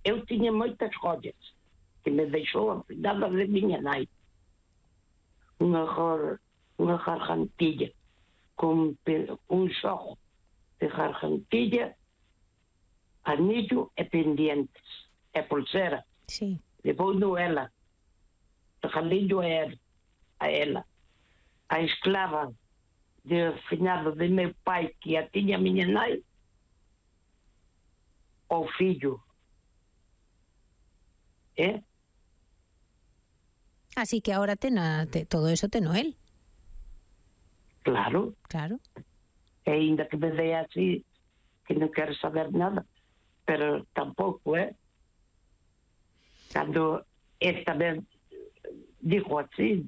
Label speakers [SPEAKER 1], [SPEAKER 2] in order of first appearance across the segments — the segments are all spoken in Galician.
[SPEAKER 1] eu tiña moitas joias que me deixou a finada de miña nai. Unha gargantilla con un xogo de gargantilla, anillo e pendientes e pulsera.
[SPEAKER 2] Sí.
[SPEAKER 1] Levou-no ela, regalillo a ela. A esclava de finado de meu pai, que a tiña miña nai, ao fillo.
[SPEAKER 2] Así que ahora todo eso teno él.
[SPEAKER 1] Claro. E ainda que me dé así, que non quero saber nada, pero tampouco, Cando esta vez digo así,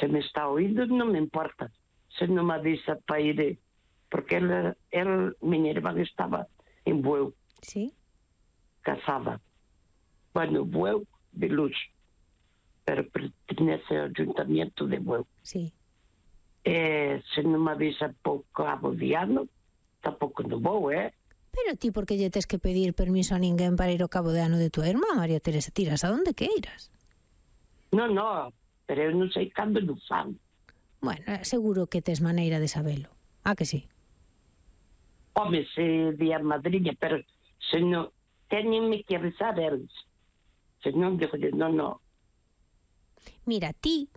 [SPEAKER 1] se me está oído non me importa, se non me avisa para ir, porque miña irmã estaba en Bueu.
[SPEAKER 2] Sí.
[SPEAKER 1] Casada. Bueno, Bueu de Luz, pero pertenece ao Ayuntamiento de Bueu.
[SPEAKER 2] Sí.
[SPEAKER 1] Se non me avisa por Cabo de Ano, tampouco non vou,
[SPEAKER 2] Pero ti por que lle tes que pedir permiso a ninguén para ir ao Cabo de Ano de tua irmá, María Teresa? Tiras a donde queiras.
[SPEAKER 1] Non, pero eu non sei cando non fan.
[SPEAKER 2] Bueno, seguro que tes maneira de sabelo. Que sí?
[SPEAKER 1] Home, se di a madriña, pero se non, teñenme que avisar eles. Se non, digo, non.
[SPEAKER 2] Mira, ti,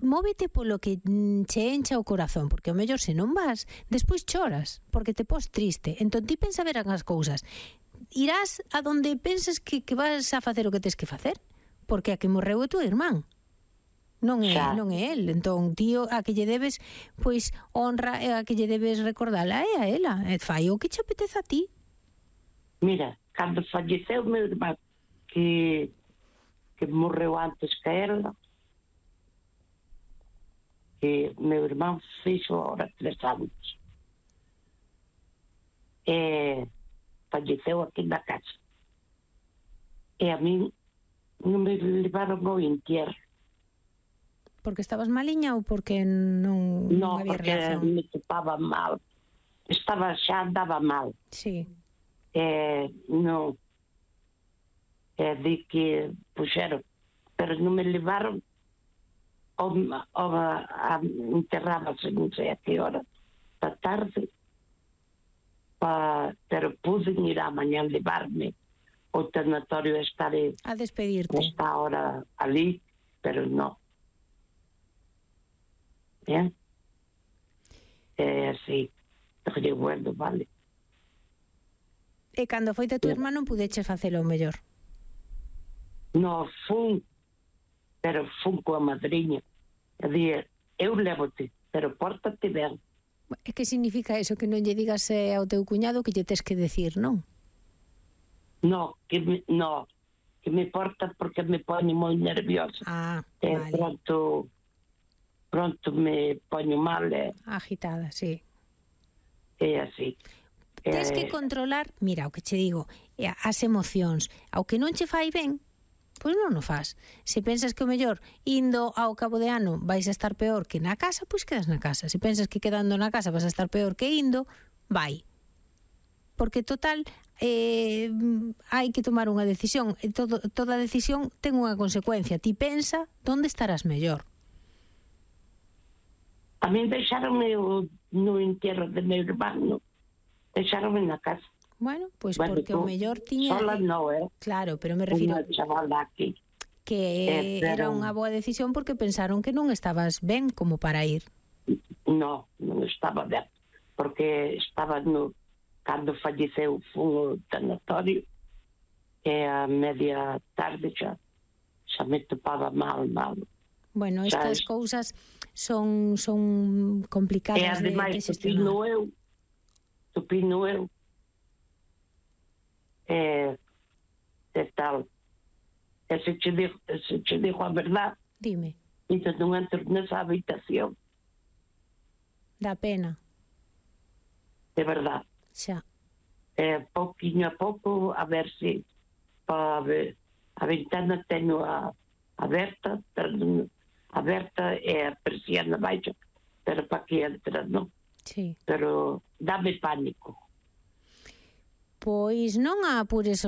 [SPEAKER 2] móvete polo que che encha o corazón, porque o mellor se non vas, despois choras, porque te pos triste. Entón ti pensa ver as cousas. Irás a donde penses que vas a facer o que tes que facer, porque a que morreu é tua irmán. Non é el. Entón, tío, a que lle debes, pois, honra, e a que lle debes recordala é a ela. Fai o que che apeteza a ti.
[SPEAKER 1] Mira, cando falleceu meu irmán, que morreu antes que ela, que meu irmán fixo ahora 3 anos. Falleceu aquí na casa. E a mí non me levaron ao entierro.
[SPEAKER 2] Porque estabas maliña ou porque non había relación?
[SPEAKER 1] Non, porque me topaba mal. Xa andaba mal.
[SPEAKER 2] Sí.
[SPEAKER 1] Non. Di que puxeron, pero non me levaron a enterrábase non sei a que hora da tarde, pero pude ir a mañá levarme ao tanatorio
[SPEAKER 2] a despedirte.
[SPEAKER 1] Está ahora ali, pero non. Así, bueno, vale.
[SPEAKER 2] E cando foite tu irmán non pudeches facelo mellor?
[SPEAKER 1] Non, fun coa madriña. Eu lévote, pero pórtate ben.
[SPEAKER 2] E que significa eso? Que non lle digas ao teu cuñado que lle tes que decir, non?
[SPEAKER 1] Non, que me porta porque me pone moi nerviosa.
[SPEAKER 2] Vale.
[SPEAKER 1] Pronto me poño mal.
[SPEAKER 2] Agitada, sí.
[SPEAKER 1] É así.
[SPEAKER 2] Tens que controlar, mira, o que che digo, as emocións. Ao que non che fai ben, pois non o fas. Se pensas que o mellor indo ao Cabo de Ano vais a estar peor que na casa, pois quedas na casa. Se pensas que quedando na casa vas a estar peor que indo, vai. Porque total, hai que tomar unha decisión. Toda decisión ten unha consecuencia. Ti pensa onde estarás mellor.
[SPEAKER 1] A mí deixaronme no entierro de meu irmán, deixaronme na casa.
[SPEAKER 2] Bueno, pois porque o mellor tiña...
[SPEAKER 1] Sola non,
[SPEAKER 2] Claro, pero me refiro...
[SPEAKER 1] Unha chavala aquí.
[SPEAKER 2] Que era unha boa decisión porque pensaron que non estabas ben como para ir.
[SPEAKER 1] Non estaba ben. Porque estaba cando falleceu fun ao tanatorio e a media tarde xa me topaba mal.
[SPEAKER 2] Bueno, estas cousas son complicadas.
[SPEAKER 1] E ademais, tupino eu. Tal. E se che digo a verdad,
[SPEAKER 2] dime.
[SPEAKER 1] Entón non entro nesa habitación.
[SPEAKER 2] Dá pena.
[SPEAKER 1] De verdad.
[SPEAKER 2] Xa.
[SPEAKER 1] Pouquinho a pouco, a ver se a ventana teño aberta e a persiana baixa, pero para que entra, non?
[SPEAKER 2] Sí.
[SPEAKER 1] Pero dame pánico.
[SPEAKER 2] Pois non a apures